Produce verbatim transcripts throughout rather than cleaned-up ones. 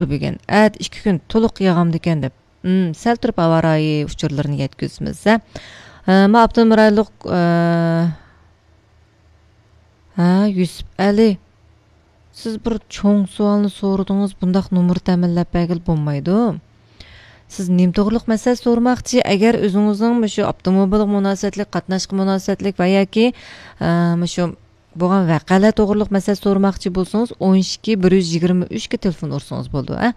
بۈگۈن، ئەتە ئىككى كۈن تولۇق ياغامدىكەن دەپ، ئىم، سەل تۇرۇپ ھاۋا رايى ئۇچۇرلىرىنى يەتكۈزىمىز، ھە. ئە، ما ئاپتونوم رايونلۇق، ئە، ھە، يۈسۈپ ئەلى، سىز بىر چوڭ سوئالنى سورىدىڭىز، بۇنداق نومۇر تەمىنلەپ بەرگىلى بولمايدۇ. سىز نېمە توغرۇلۇق مەسىلە سورىماقچى؟ ئەگەر ئۆزىڭىزنىڭ مۇشۇ ئاپتوموبىلغا مۇناسىۋەتلىك، قاتناشقا مۇناسىۋەتلىك ۋە ياكى، ئە، مۇشۇ بولغان ۋەقەلەر توغرۇلۇق مەسىلە سورىماقچى بولسىڭىز، ئون ئىككى، بىر يۈز يىگىرمە ئۈچكە تېلېفون ئۇرسىڭىز بولىدۇ، ئە.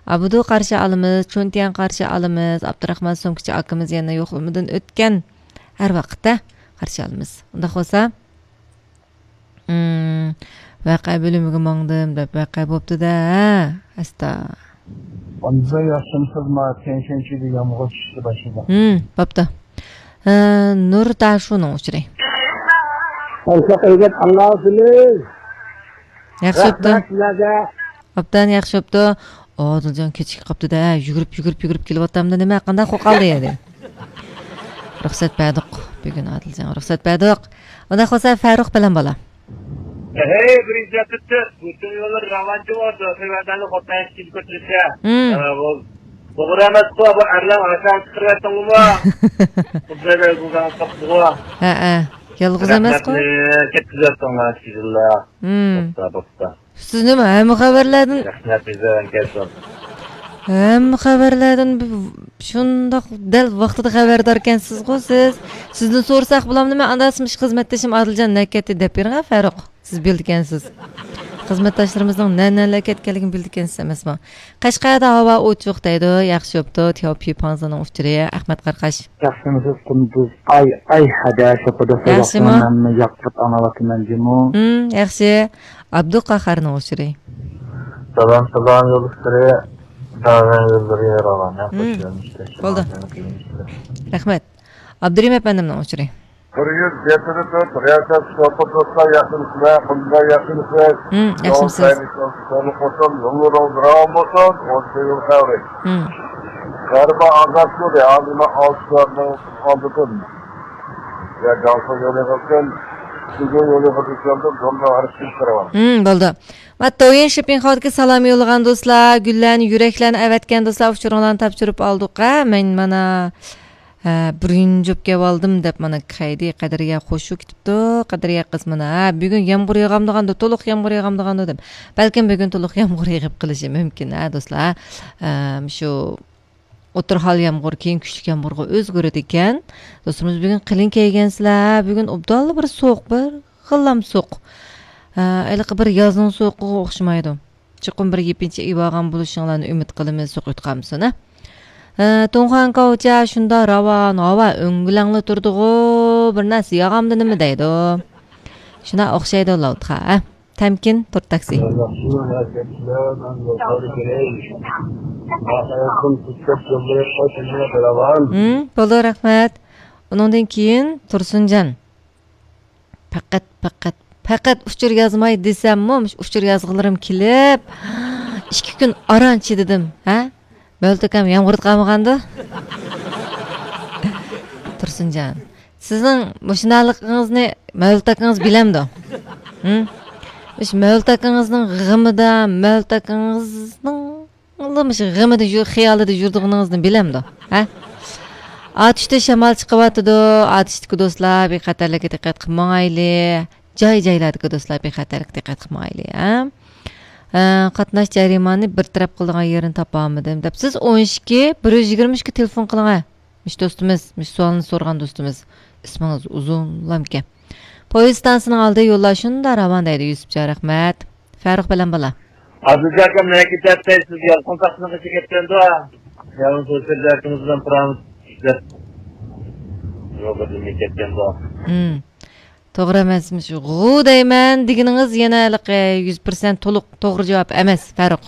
ئابدۇ قارشى ئالىمىز، چۈنتيەن قارشى ئالىمىز، ئابدۇراخمان سومكىچى ئاكىمىز يەنە يوقلىمىدىن ئۆتكەن. ھەر ۋاقىت، ئە، قارشى ئالىمىز. ئۇنداق بولسا، ئىم، ۋەقە بۆلۈمىگە ماڭدىم دەپ ۋەقە بوپتۇ-دە، ھە، ئەستا. ئاندىن ياخشىمۇسىز؟ ما تيەنشەنشىدە يامغۇر چۈشۈشكە باشلىدى. ھىم، بوپتۇ. ھە، نۇر داشۇنىڭ ئۇچۇرى. قورساق ئەگەپ ئاڭلاۋاتىمىز. ياخشى بوپتۇ. رەھمەت سىلەرگە. ئوبدان ياخشى بوپتۇ. ئادىلجان كېچىكىپ قاپتۇ-دە، يۈگۈرۈپ، يۈگۈرۈپ، يۈگۈرۈپ كېلىۋاتامدۇ نېمە؟ قانداق قوقالدى ئەدى؟ رۇخسەت بەردۇق. بۈگۈن ئادىلجانغا رۇخسەت بەردۇق. ئۇنداق بولسا، فەرۇق بىلەن بالا. ھەي، بىرىنچى ئەپتىتىپ، بۇ يوللار راۋانچى بولدى. خىزمەتلەرنى خوتەن ئىچىدە كۆتۈرسە. ھىم. ئە، بۇ توغرا ئەمەسقۇ، بۇ ئەرلەر ئاشاق چىقىرىۋەتتىڭلىمۇ؟ خۇددى بۇ زامان تاپتىغۇ. ھەئە، يالغۇز ئەمەسقۇ. رەھمەتنى كەتكۈزۈۋەتتىڭلار، بىسمىللا. ھىم. بوپتا، بوپتا. سىز نېمە، ھەممە خەۋەرلەردىن، رەھمەت، بىزدىن كەلسۇن. ھەممە خەۋەرلەردىن بۇ، شۇنداق دەل ۋاقتىدا خەۋەرداركەنسىزغۇ سىز. سىزدىن سورىساق بولامدۇ؟ مەن ئانداق مۇشۇ خىزمەتدىشىم ئادىلجان نەگە كەتتى دەپ بېرىڭە، فەرۇق. سىز بىلىدىكەنسىز. خىزمەتداشلىرىمىزنىڭ نە-، نەلەرگە كەتكەنلىكىنى بىلىدىكەنسىز ئەمەسمۇ؟ قەشقەردە ھاۋا ئوچۇق دەيدۇ. ياخشى بوپتۇ. تياۋپى پاڭزىنىڭ ئۇچۇرى. ئەخمەت قاراقاش. ياخشىمۇسىز قۇندۇز؟ ئاي، ئاي، ھەدە، شوپىدا ياخشىمۇ؟ سوزۇقنى مەنمۇ ياقتۇرۇپ ئاڭلاۋاتىمەن جۇمۇ. ھىم، ياخشى. ئابدۇقاھارنىڭ ئۇچۇرى. سالام، سالام، يولدىشلىرى. داۋان يوللىرى راۋان. ھىم. بولدى. رەھمەت. ئابدۇرېھىم ئەپەندىمنىڭ ئۇچۇرى. بىر يۈز يەتتە تۆت رىياسەت شوپۇر دوستلار ياخشىمۇسىلەر؟ قۇندۇزلار ياخشىمۇسىز؟ ھىم، ياخشىمۇسىز؟ يوللىرىڭىز راۋان بولسۇن. ئون يول خەۋىرى. ھىم. غەربىي ئازاد يولى، ھازىر مەن ئالتە سائەتنىڭ ئالدىدىن. يا گاڭسۇ يولى قىلسۇن، شىزۇ يولى قىلسۇن، زومنىڭ ھەرىكىتى كىرىۋال. ھىم، بولدى. ما، تويىن شىپىڭخاۋدىكى سالام يوللىغان دوستلار، گۈللەرنى، يۈرەكلەرنى ئەۋەتكەن دوستلار، ئۇچۇرۇڭلارنى تاپشۇرۇپ ئالدۇق، ھە، مەن مانا، ھە، بىرىنچى بوپ كېلىۋالدىم دەپ مانا كەيدى قەدرىيە قوشۇپ كېتىپتۇ، قەدرىيە قىز مانا، ھە، بۈگۈن يامغۇر ياغامدىغاندۇ، تولۇق يامغۇر ياغامدىغاندۇ دەپ. بەلكىم بۈگۈن تولۇق يامغۇر يېغىپ قېلىشى مۇمكىن، ھە، دوستلار، ھە، شۇ ئوتتۇرا ھال يامغۇر، كېيىن كۈچلۈك يامغۇرغا ئۆزگىرىدىكەن. دوستلىرىمىز بۈگۈن قېلىن كىيگەنسىلەر، ھە، بۈگۈن ئوبدانلا بىر سوغۇق، بىر غىللام سوغۇق. ھە، ھېلىقى بىر يازنىڭ سوغۇقىغا ئوخشىمايدۇ. چوقۇم بىر يېپىنچا ئېلىۋالغان بولۇشۇڭلارنى ئۈمىد قىلىمىز، سوغۇق يوتقانمىسۇن، ھە. ئە، تۇڭخۇەن كاۋچە شۇنداق راۋان، ھاۋا ئۆڭگۈلەڭلا تۇرىدىغۇ، بىر نەرسە ياغامدۇ نېمە دەيدۇ. شۇنداق ئوخشايدۇ لاۋۇتخا، ھە. تەمكىن، تور تاكسى. ھىم، بولدى، رەھمەت. ئۇنىڭدىن كېيىن تۇرسۇنجان. پەقەت، پەقەت، پەقەت ئۇچۇر يازماي دېسەممۇ، مۇشۇ ئۇچۇر يازغۇلىرىم كېلىپ، ئىككى كۈن ئاران چىدىدىم، ھە؟ مەۋلۇت ئاكام يامغۇردا قالمىغاندۇ؟ تۇرسۇنجان، سىزنىڭ مۇشۇنداقلىقىڭىزنى مەۋلۇت ئاكىڭىز بىلەمدۇ؟ ھىم؟ مۇشۇ مەۋلۇت ئاكىڭىزنىڭ غېمىدا، مەۋلۇت ئاكىڭىزنىڭ مۇشۇ غېمىدە يۈ-، خىيالىدا يۈرىدىغىنىڭىزنى بىلەمدۇ؟ ھە؟ ئاتۇشتا شامال چىقىۋاتىدۇ. ئاتۇشتىكى دوستلار بىخەتەرلىككە دىققەت قىلىپ ماڭايلى. جاي-جايلاردىكى دوستلار بىخەتەرلىككە دىققەت قىلىپ ماڭايلى، ھە؟ ئە، قاتناش جەريانىنى بىر تەرەپ قىلىدىغان يېرىنى تاپالمىدىم دەپ، سىز ئون ئىككى، بىر يۈز يىگىرمە ئۈچكە تېلېفون قىلىڭ، ھە. مۇشۇ دوستىمىز، مۇشۇ سوئالنى سورىغان دوستىمىز. ئىسمىڭىز ئۇزۇنلامكەن. پويىز ئىستانسىسىنىڭ ئالدى يوللار شۇنداق راۋان دەيدۇ، يۈسۈپجان، رەھمەت. فەرۇق بىلەن بالا. ئابدۇزاكام نەگە كېتەتتى؟ سىز يالقۇن تاقىسىنىڭ قېشىغا كەتكەندۇ؟ يالقۇن سۆزلەركىمىز بىلەن پىرامىس ئىشلەپ يولغا دېمەي كەتكەندۇ؟ ھىم. توغرا ئەمەسمىش. غۇ دەيمەن دېگىنىڭىز يەنە ھېلىقى يۈز پىرسەنت تولۇق توغرا جاۋاب ئەمەس، فەرۇق.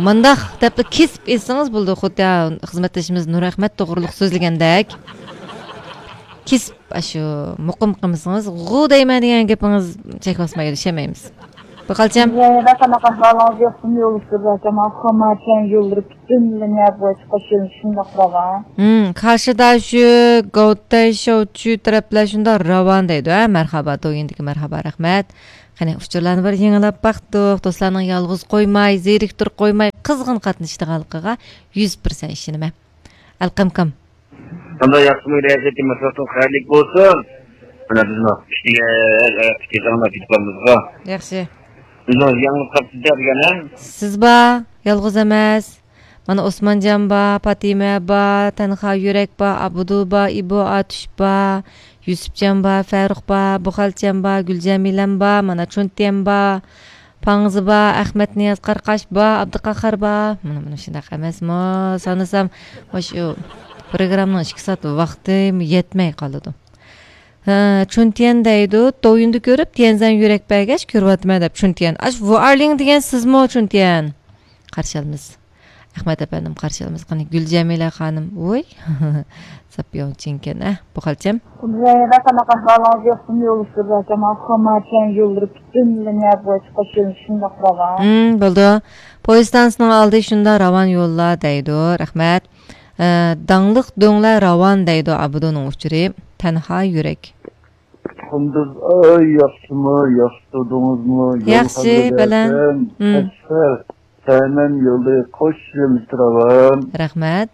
مۇنداق دەپلا كېسىپ ئېيتسىڭىز بولىدۇ، خۇددى خىزمەتدىشىمىز نۇرئەخمەت توغرۇلۇق سۆزلىگەندەك. كېسىپ ئاشۇ مۇقىم قىلمىسىڭىز، غۇ دەيمەن دېگەن گېپىڭىز چەك باسمايدۇ، ئىشەنمەيمىز. بۇ قالچام. يەنە قانداق ئەھۋالىڭىز ياخشىمۇ يولدىشىم؟ ئاكام خاماتيەن يوللىرى پۈتۈنلىي نەپ ۋاچقا شۇنداقلا. ھىم، كاشىداشۈ، گاۋتەي شاۋچۈ تەرەپلەر شۇنداق راۋان دەيدۇ، ھە؟ مەرھابا، دويىندىكى مەرھابا، رەھمەت. قېنى، ئۇچۇرلارنى بىر يېڭىلاپ باقتۇق. دوستلارنىڭ يالغۇز قويماي، زېرىكتۈرۈپ قويماي، قىزغىن قاتنىشىدىغانلىقىغا يۈز پىرسەنت ئىشىنىمەن. ئەلقەمكام. قانداق، ياخشىمۇ، رەزىيىتى، مەسىلىتىڭىز خەيرلىك بولسۇن. مانا بىزنىڭ ئىشتىگە، ئاياقتىكى جاڭلار كېتىپ قالمىسىغا. ياخشى. بىزنىڭ يېڭىلىق تاپتى دېگەن. سىز بار، يالغۇز ئەمەس. مانا ئوسمانجان بار، پاتىمە بار، تەنھا يۈرەك بار، ئابدۇ بار، ئىبو ئاتۇش بار، يۈسۈپجان بار، فەرۇق بار، بۇخەلچەم بار، گۈلجەمىلەم بار، مانا چۈنتىيەم بار، پاڭزى بار، ئەخمەت نىياز قارقاش بار، ئابدۇقاخار بار. مانا، مانا شۇنداق ئەمەسمۇ؟ سانىسام، مۇشۇ پروگراممىنىڭ ئىككى سائەت ۋاقتى يەتمەي قالىدۇ. ھە، چۈنتىيەن دەيدۇ، دوۋيىندا كۆرۈپ، تيەنزەن يۈرەك بەرگەچ كۆرۈۋاتىمەن دەپ، چۈنتىيەن. ئاش، ۋۇئارلىڭ دېگەن سىزمۇ، چۈنتىيەن؟ قارشى ئالىمىز. ئەخمەت ئەپەندىم، قارشى ئالىمىز. قېنى، گۈلجەمىلە خانىم. ۋوي. ساپياڭ چىڭكەن، ئە، بۇ خالچەم. زەينەپ، قانداق ئەھۋالىڭىز؟ ياخشىمۇ؟ يوللىشىپ بېرىۋاتىمەن. خاماچەن يوللىرى پۈتۈنلىنى بويىچە قوشۇلۇش شۇنداق راۋان. ھىم، بولدى. پويىز ستانسىنىڭ ئالدى شۇنداق راۋان يوللار دەيدۇ. رەھمەت. ئە، داڭلىق دۆڭلەر راۋان دەيدۇ ئابدۇنىڭ ئۇچۇرى. تەنھا يۈرەك. قۇندۇز ئاي، ياخشىمۇ؟ ياخشى تۇردىڭىزمۇ؟ يول ياخشى، خەۋىرى بەلەن. بەرسەم، ھىم. قەشقەر، سەمەن يولى قوش يۆنىلىشتە راۋان. رەھمەت.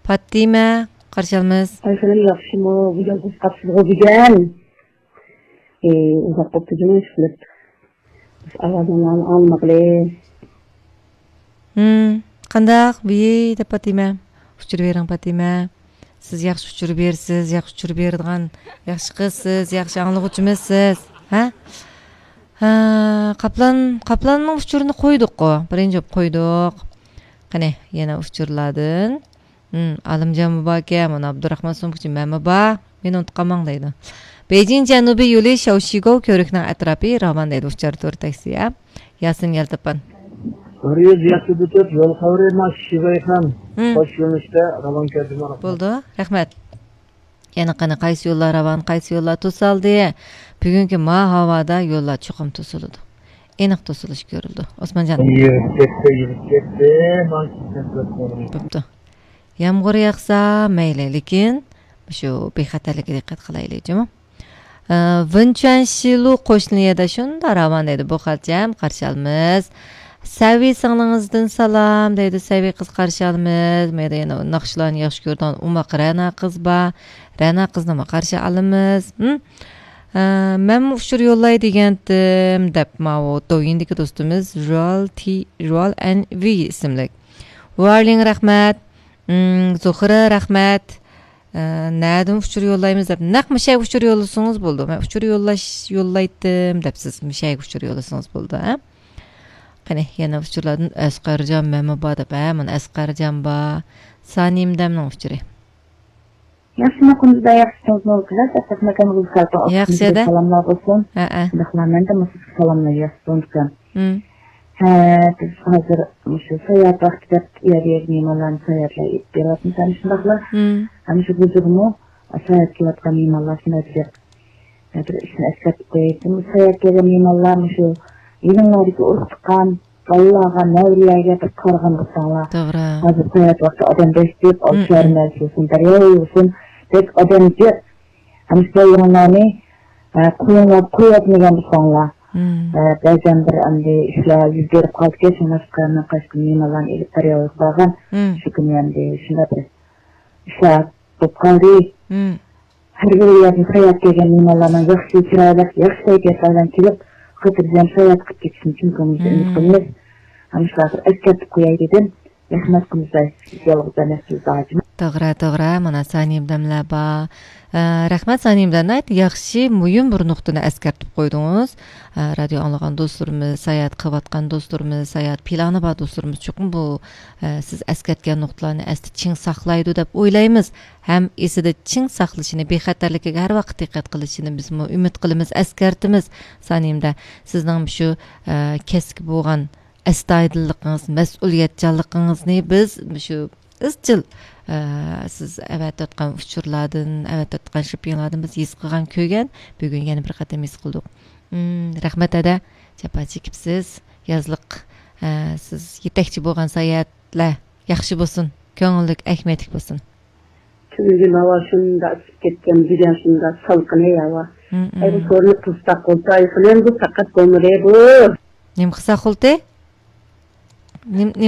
پاتىمە، قارشى ئالىمىز. ئايسەلەم، ياخشىمۇ؟ بۈگۈن ئۇزاق قاپسىزغۇ بۈگۈن. ئى، ئۇزاق بوپتۇ جۇمۇ ئىشقىلىپ. ئاۋازىڭلارنى ئاڭلىمىغىلى. ھىم، قانداق؟ ۋىي، دەپ پاتىمە. ئۇچۇر بېرىڭ، پاتىمە. سىز ياخشى ئۇچۇر بېرىسىز، ياخشى ئۇچۇر بېرىدىغان ياخشى قىزسىز، ياخشى ئاڭلىغۇچىمىزسىز. ھە؟ ھە، قاپلان، قاپلاننىڭ ئۇچۇرىنى قويدۇققۇ. بىرىنچى بولۇپ قويدۇق. قېنى، يەنە ئۇچۇرلاردىن. ھىم، ئالىمجانمۇ باركەن، مانا ئابدۇراخمان سومكىچى، مەنمۇ بار. مېنى ئۇنتۇپ قالماڭ دەيدۇ. بېيجىڭ جەنۇبىي يولى شياۋشىگوۋ كۆۋرۈكنىڭ ئەتراپى راۋان دەيدۇ، ئۇچار تور تاكسى، ھە؟ ياسىن يالتاپان. بىر يۈز يەتتە تۆت يول خەۋىرى، مانا شىزايخان. ھىم. قوش يۆنىلىشتە راۋان كەلدى، مانا. بولدى، رەھمەت. يەنە قېنى، قايسى يوللار راۋان، قايسى يوللار توسالدى؟ بۈگۈنكى ما ھاۋادا يوللار چوقۇم توسۇلىدۇ. ئېنىق توسۇلۇش كۆرۈلىدۇ. ئوسمانجان. يۈرۈپ كەتتى، يۈرۈپ كەتتى. مانا شۇ. بوپتۇ. يامغۇر ياغسا مەيلى، لېكىن شۇ بىخەتەرلىككە دىققەت قىلايلى، جۇمۇ. ئە، ۋېنچۈەنشىلۇ قوشنىيەدە شۇنداق راۋان دەيدۇ، بۇ خالچەم، قارشى ئالىمىز. سەۋى سىڭلىڭىزدىن سالام دەيدۇ، سەۋى قىز، قارشى ئالىمىز. مەيدە يەنە ناخشىلارنى ياخشى كۆرىدىغان ئوماق رەنا قىز بار. رەنا قىزنىمۇ قارشى ئالىمىز. ھىم؟ ئە، مەنمۇ ئۇچۇر يوللاي دېگەنتىم، دەپ ماۋۇ دوۋيىندىكى دوستىمىز ژۇئال تى، ژۇئال ئەن ۋى ئىسىملىك. ۋارلىڭ، رەھمەت. ھىم، زۇخرا، رەھمەت. ئە، نەدىن ئۇچۇر يوللايمىز دەپ، نەق مۇشەگە ئۇچۇر يوللىسىڭىز بولىدۇ. مەن ئۇچۇر يوللاش، يوللايتتىم دەپسىز، مۇشەگە ئۇچۇر يوللىسىڭىز بولىدۇ، ھە؟ قېنى، يەنە ئۇچۇرلاردىن ئەسقەرجان مەنمۇ بار دەپ، ھە، مانا ئەسقەرجان بار. سانىيىمدەمنىڭ ئۇچۇرى. ياخشىمۇ، قۇندۇز ئاي، ياخشىمۇ؟ ياخشى ئەدە. سالاملار بولسۇن. ھە، ھە. شۇنداقلا مەن دە مۇشۇ سالاملار ياخشى سۇندۇم. ھىم. ھە، بىز ھازىر مۇشۇ ساياھەت ۋاقتى دەپ ئۇ يەرگە مېھمانلارنى ساياھەتلەر ئېلىپ بېرىۋاتىمىز، شۇنداقلا. ھىم. ھەم شۇ ھۇزۇرمۇ ساياھەتكە كېلىۋاتقان مېھمانلار شۇنداق بىر، بىر ئىشنى ئەسكەرتىپ قوياي. بۇ ساياھەتكە كەلگەن مېھمانلار مۇشۇ يېنىڭلاردىكى ئۇرۇق تۇغقان، بالىلارغا، نەۋرىلەرگە بىر قارىغان بولساڭلار. توغرا. ھازىر ساياھەت ۋاقتى ئادەم بەش دەپ، ئالچى ھەرمەس بولسۇن، دەريا بولسۇن، بەك ئادەم جىق. ئەمىسە يېنىڭلارنى، ئە، قويۇڭلار، قويۇۋەتمىگەن بولساڭلار. ئە، بەزەن بىر ئەمدى ئىشلار يۈز بېرىپ قالىدىكەن، شۇڭلاشقا مەن قايسى كۈنى مېھمانلارنى ئېلىپ دەرياغا بارغان. شۇ كۈنى ئەمدى شۇنداق بىر ئىشلار بولۇپ قالدى. ھەر بىر يەردىن ساياھەت كەلگەن مېھمانلارنىڭ ياخشى، چىرايلىق، ياخشى كەيپىيات بىلەن كېلىپ، خاتىرجەم ساياھەت قىلىپ كېتىشىنى چىن كۆڭلىمىزدىن ئۈمىد قىلىمىز. ھەم شۇلارغا ئەسكەرتىپ قوياي دېدىم. رەھمەت، قۇندۇزئاي، سىز يالغۇز ئەمەسسىز، ھاجىم. توغرا، توغرا. مانا سانىيىمدەملەر بار. ئە، رەھمەت، سانىيىمدەم، ناھايىتى ياخشى، مۇھىم بىر نۇقتىنى ئەسكەرتىپ قويدىڭىز. ئە، رادىيو ئاڭلىغان دوستلىرىمىز، ساياھەت قىلىۋاتقان دوستلىرىمىز، ساياھەت پىلانى بار دوستلىرىمىز چوقۇم بۇ، ئە، سىز ئەسكەرتكەن نۇقتىلارنى ئەستە چىڭ ساقلايدۇ دەپ ئويلايمىز. ھەم ئېسىدە چىڭ ساقلىشىنى، بىخەتەرلىكىگە ھەر ۋاقىت دىققەت قىلىشىنى بىزمۇ ئۈمىد قىلىمىز، ئەسكەرتىمىز. سانىيىمدە، سىزنىڭ شۇ، ئە، كەسىپكە بولغان ئەستايىدىللىقىڭىز، مەسئۇلىيەتچانلىقىڭىزنى بىز مۇشۇ ئىزچىل، ئە، سىز ئەۋەتىۋاتقان ئۇچۇرلاردىن، ئەۋەتىۋاتقان شىپىڭلاردىن بىز ھېس قىلغان، كۆرگەن، بۈگۈن يەنە بىر قېتىم ھېس قىلدۇق. ھىم، رەھمەت ھەدە، جاپا چېكىپسىز. يازلىق، ئە، سىز يېتەكچى بولغان ساياھەتلەر ياخشى بولسۇن، كۆڭۈللۈك، ئەھمىيەتلىك بولسۇن. تۈنۈگۈن ھاۋا شۇنداق ئىسسىپ كەتكەن، بۈگۈن شۇنداق سالقىن ھاۋا. ھەي، بۇ سورۇننى قىلساق بولسا، ئايفون ئەمدى پەقەت بولمىدى بۇ. نېمە قىلساق بولدى؟ نېم-، نېمە